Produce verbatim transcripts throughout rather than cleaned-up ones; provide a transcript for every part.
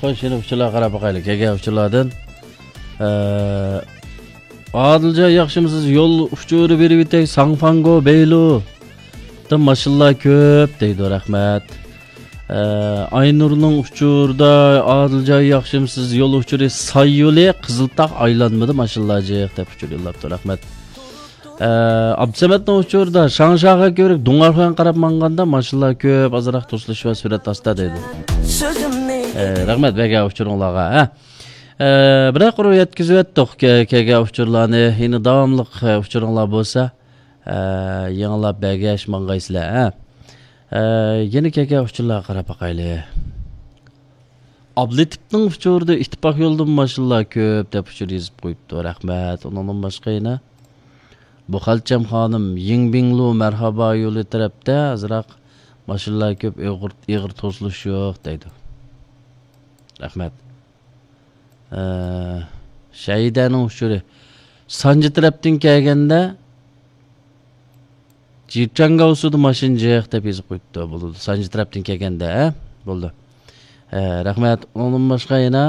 خوش، يەنە ئۇچۇرلارغا قاراپ باقايلى. كەلگەن ئۇچۇرلاردىن. ئە، ئادىلجان، ياخشىمۇسىز؟ يول ئۇچۇرى بېرىۋېتەي. ساڭفاڭگو بەيلۇ دا ماشىنىلار كۆپ دەيدۇ. رەھمەت. ئە، ئاينۇرنىڭ ئۇچۇرىدا، ئادىلجان، ياخشىمۇسىز؟ يول ئۇچۇرى ساي يولى، قىزىلتاغ ئايلانمىدا ماشىنىلار جىق دەپ ئۇچۇر يوللاپتۇ. رەھمەت. ئە، ئابدۇسەمەتنىڭ ئۇچۇرىدا، شاڭشاغا كۆۋرۈك دۇڭئارخۇەن قاراپ ماڭغاندا ماشىنىلار كۆپ، ئازراق توسۇلۇش بار، سۈرئەت ئاستا دەيدۇ. ئە، رەھمەت بەرگەن ئۇچۇرۇڭلارغا. ھە. ئە، بىرەر قۇر يەتكۈزۈۋەتتۇق كە-، كەلگەن ئۇچۇرلارنى. يەنە داۋاملىق، ئە، ئۇچۇرۇڭلار بولسا، ئە، يېڭىلاپ بەرگەچ ماڭغايسىلەر. ھە. ئە، يەنە كەلگەن ئۇچۇرلارغا قاراپ باقايلى. ئابلىتىپنىڭ ئۇچۇرىدا ئىتتىپاق يولىدىمۇ ماشىنىلار كۆپ دەپ ئۇچۇر يېزىپ قويۇپتۇ. رەھمەت. ئۇنىڭدىن باشقا يەنە بۇخەلچەم خانىم، يىڭبىڭلۇ مەرھابا يولى تەرەپتە ئازراق ماشىنىلار كۆپ، ئېغىر، ئېغىر توسۇلۇش يوق دەيدۇ. رەھمەت. ئە، شەھىدەنىڭ ئۇچۇرى. سانجى تەرەپتىن كەلگەندە، جىچاڭگاۋسۇدا ماشىنا جىق دەپ يېزىپ قويۇپتۇ. بولىدۇ. سانجى تەرەپتىن كەلگەندە، ھە؟ بولدى. ئە، رەھمەت. ئۇنىڭدىن باشقا يەنە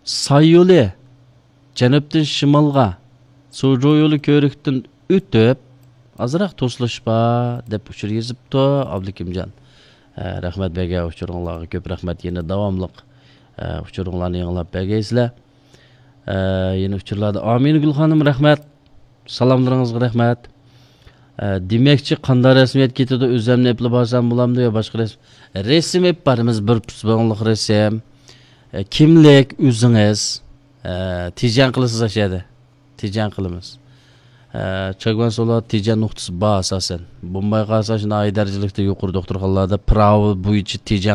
ساي يولى، جەنۇبتىن شىمالغا، سۇجۇ يولى كۆۋرۈكتىن ئۆتۈپ، ئازراق توسۇلۇش بار دەپ ئۇچۇر يېزىپتۇ ئابلىكىمجان. ئە، رەھمەت بەرگەن ئۇچۇرۇڭلارغا، كۆپ رەھمەت. يەنە داۋاملىق، ئە، ئۇچۇرۇڭلارنى يېڭىلاپ بەرگەيسىلەر. ئە، يەنە ئۇچۇرلاردا ئامىنە گۈل خانىم، رەھمەت. سالاملىرىڭىزغا رەھمەت. ئە، دېمەكچى، قانداق رەسمىيەت كېتىدۇ؟ ئۆزۈمنى ئېپلا بارسام بولامدۇ يا باشقا رەسىم؟ رەسىم ئېپ بارىمىز، بىر پۇت بوڭلۇق رەسىم. ئە، كىملىك، ئۆزىڭىز. ئە، تېجەن قىلىسىز ئاشۇ يەردە. تېجەن قىلىمىز. ئە، چاگۋان سولا تېجەن نۇقتىسى بار ئاساسەن. بولماي قالسا، شۇ ناھىيە دەرىجىلىكتە يۇقىرى دوختۇرخانىلاردا پىراۋا بويىچە تېجەن